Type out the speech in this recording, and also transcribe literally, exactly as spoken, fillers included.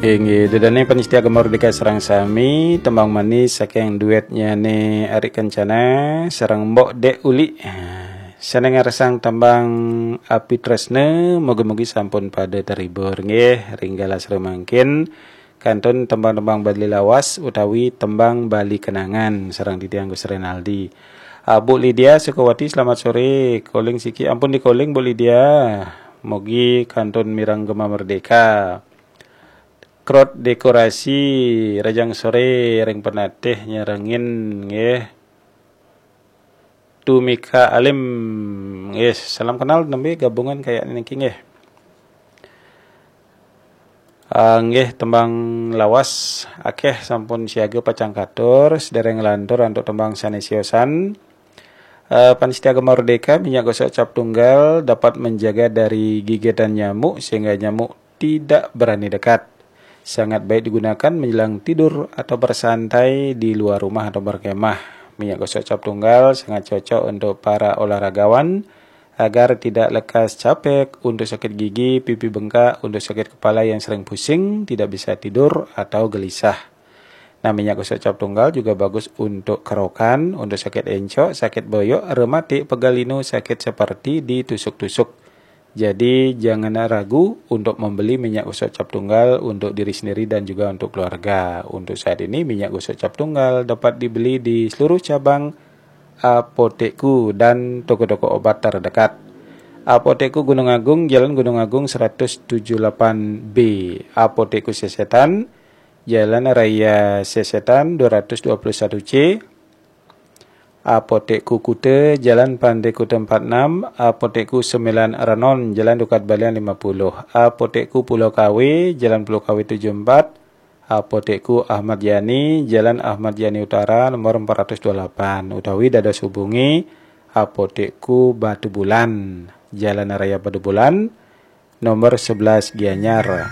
Inggih, ida dané pamiarsa Gema Merdeka sareng sami, tembang manis saking duetnya né Ari Kencana sareng Mbok Dek Uli. Sané ngarsang tembang Api Tresna, mugi-mugi sampun pada terhibur nggih ring galah sareng mangkin kantun tembang-tembang Bali lawas utawi tembang Bali kenangan sareng titiang Gus Renaldi. Ah, Bu Lydia Sukawati, selamat sore. Calling siki, ampun di calling, Bu Lydia. Mugi kantun mireng Gema Merdeka. Krot Dekorasi, rahajeng sore ring penatih nyarengin nggih. Tumika Alim, nggih, salam kenal, nembe gabungan kayak niki nggih. Ah, nggih, tembang lawas akéh sampun siaga pacang katur, sedereng lantur antuk tembang sané siosan. Eh, pamiarsa Gema Merdeka, minyak gosok cap tunggal dapat menjaga dari gigitan nyamuk sehingga nyamuk tidak berani dekat. Sangat baik digunakan menjelang tidur atau bersantai di luar rumah atau berkemah. Minyak gosok cap tunggal sangat cocok untuk para olahragawan agar tidak lekas capek, untuk sakit gigi, pipi bengkak, untuk sakit kepala yang sering pusing, tidak bisa tidur atau gelisah. Nah, minyak gosok cap tunggal juga bagus untuk kerokan, untuk sakit encok, sakit boyok, rematik, pegal linu, sakit seperti ditusuk-tusuk. Jadi, jangan ragu untuk membeli minyak gosok cap tunggal untuk diri sendiri dan juga untuk keluarga. Untuk saat ini, minyak gosok cap tunggal dapat dibeli di seluruh cabang Apotekku dan toko-toko obat terdekat. Apotekku Gunung Agung, Jalan Gunung Agung seratus tujuh delapan B. Apotekku Sesetan, Jalan Raya Sesetan dua ratus dua puluh satu C. Apotekku Kuta, Jalan Pantai Kuta empat enam. Apotekku Sembilan Renon, Jalan Dukat Balian lima puluh. Apotekku Pulau Kawe, Jalan Pulau Kawe tujuh empat. Apotekku Ahmad Yani, Jalan Ahmad Yani Utara, nomor empat ratus dua puluh delapan. Utawi dados hubungi Apotekku Batu Bulan, Jalan Raya Batu Bulan, nomor sebelas Gianyar.